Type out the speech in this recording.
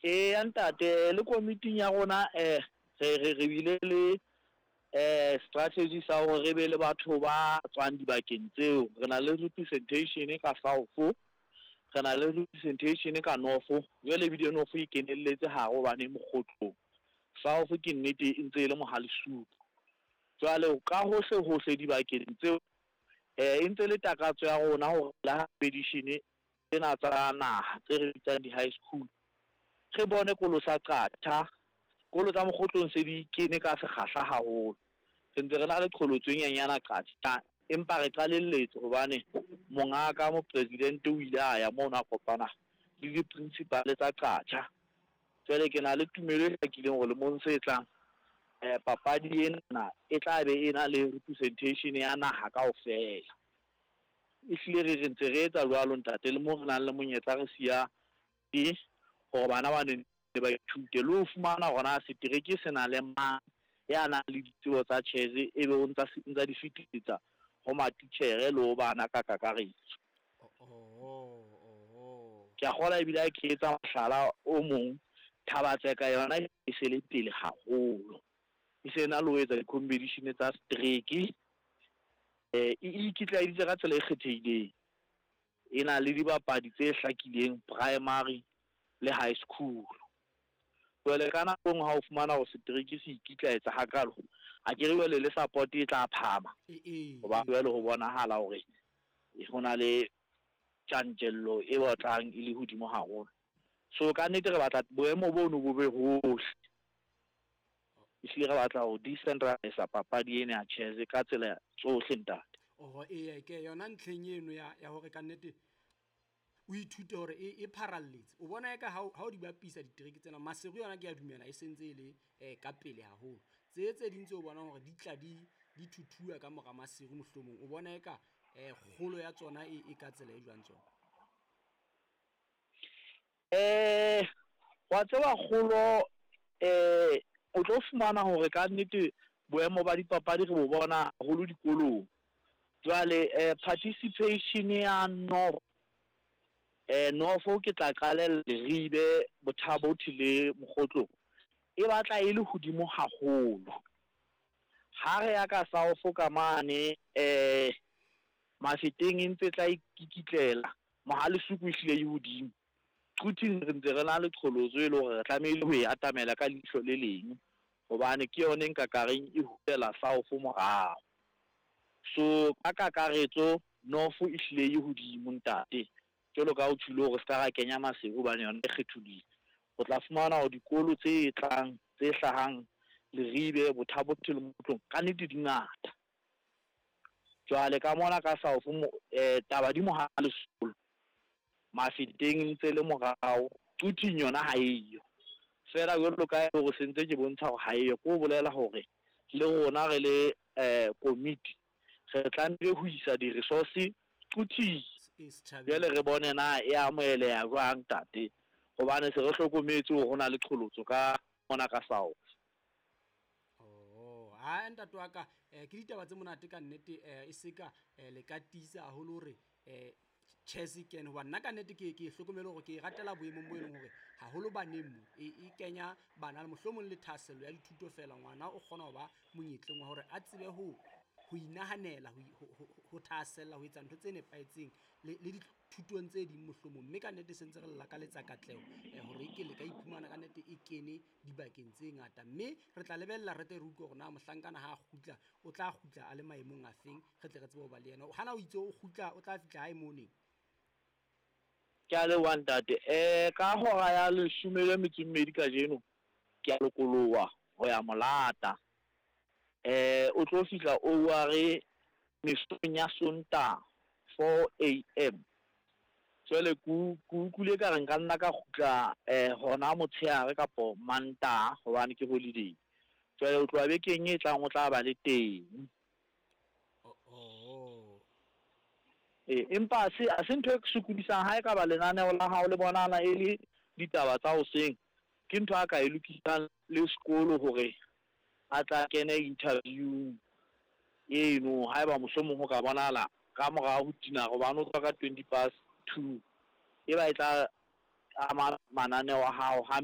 Eya ntate, le komiting ya rona re bile le strategy sa hore re be le batho ba tswang dibakeng tseo. Re na le representation ka South, re na le representation ka North, jwale ebile North e kenelletse hare hobane e mokgotlong. South ke nnete e ntse e le Mohalesuku. Jwale ka hohle hohle dibakeng tseo e ntse le takatso ya rona hore le ha competition tsena tsa naha tse re bitsang di-high school, re bone kolo sa Qacha, kolo tsa mokgotlong se di kene ka sekgahla haholo. Re ntse re na le qholotso e nyenyana Qacha, empa re qalelletse hobane mongaka mopresidente o ile a ya mono a kopana le di-principal tsa Qacha. Jwale ke na le tumelo e hlakileng hore lemong se tlang papadi ena e tla be e na le representation ya naha kaofela. Ehlile re ntse re etsa jwalo ntate, le mo re nang le monyetla re siya e hore bana ba ne ba ithute le ho fumana hore na setereke se na le mang ya nang le ditsebo tsa chess, e be o ntsa di fetisetsa ho matitjhere le ho bana ka kakaretso. Ke a kgola ebile ha ke etsa mohlala o mong, Thabatseka yona e se le pele haholo. E se na le ho etsa di-competition tsa setereke. E ikitlaeditse ka tsela e kgethehileng. E na le dibapadi tse hlakileng primary le high school. Jwale ka nako e nngwe ha o fumana hore setereke se ikitlaetsa hakalo, akere jwale le support e tla phahama. Hoba jwale ho bonahala hore ho na le tjantjello e batlang e le hodimo haholo. So ka nnete re batla boemo bono bo be hohle. Ehlile re batla ho decentralise papadi ena ya chess ka tsela tsohle ntate. Oho, eya, ke yona ntlheng eno ya hore ka nnete o ithute hore e pharalletse. O bona eka ha o di bapisa ditereke tsena, Maseru yona ke a dumela e sentse e le ka pele haholo. Tse ding tse o bonang hore di tla di thuthuwa ka mora Maseru mohlomong, o bona eka kgolo ya tsona e ka tsela e jwang tsona? Wa tseba kgolo o tlo fumana hore ka nnete boemo ba dipapadi re bo bona haholo dikolong. Jwale participation ya North, North ke tla qalella Leribe, Botha-Bothe le Mokgotlong, e batla e le hodimo haholo. Ha re ya ka South ka mane Mafeteng e ntse tla ikikitlela, Mohalesuku ehlile e hodimo. Quthing re ntse re na le qholotso e le hore re tlamehile ho e atamela ka leihlo le leng, hobane ke yona e nka ka reng e hulela South morao. So ka kakaretso North e hlile e hodimo ntate. Jwalo ka o tjholo hore se ka ra kenya Maseru hobane yona e kgetholohile. O tla fumana hore dikolo tse tlang tse hlahang Leribe, Botha-Bothe le Mokgotlong ka nnete di ngata. Jwale ka mona ka South taba di Mohalesuku, Mafeteng ntse le morao, Quthing yona ha eyo. Feela jwalo ka hore sentse ke bontsha hore ha eyo, ke ho bolela hore le rona re le komiti re tlamehile ho isa di-resource Quthing. Jwale re bone na e amoheleha jwang ntate, hobane se re hlokometse hore ho na le qholotso ka mona ka South. Oh, ha ntate wa ka, ke ditaba tse monate ka nnete, e se ka le ka tiisa haholo hore chess e kene, hoba nna ka nnete ke hlokomele hore ke e ratela boemong bo e leng hore haholo baneng mo e kenya bana le mohlomong le thahasello ya dithuto fela. Ngwana o kgona ho ba monyetleng wa hore a tsebe ho inahanela, ho thahasella ho etsa ntho tse nepahetseng le dithutong tse ding mohlomong. Mme ka nnete se ntse re lakaletsa katleho hore e ke le ka iphumana ka nnete e kene dibakeng tse ngata. Mme re tla lebella re tle re utlwe hore na mohlankana ha a kgutla o tla kgutla a le maemong a feng, re tle re tsebe ho ba le yena. Hana o itse o kgutla o tla fihla hae moneng. Ke a leboha ntate. Ka hora ya 12 kajeno ke a lokoloha ho ya Molata. O tlo fihla OR mesong ya Sontaha 4 a.m. Jwale ke utlwile ka re nka nna ka kgutla hona motshehare kapo Mantaha hobane ke holiday. Jwale o tloha bekeng e tlang o tla ba le teng. Empa a se ntho e sokodisang ha e ka ba lenaneo la hao le bonahala e le ditaba tsa hoseng, ke ntho a ka e lokisang le sekolo hore a tla kene interview eno haeba mohlomong ho ka bonahala ka morao ho dinara, hobane o tswa ka 2:20, e ba e tla ama mananeo a hao hampe.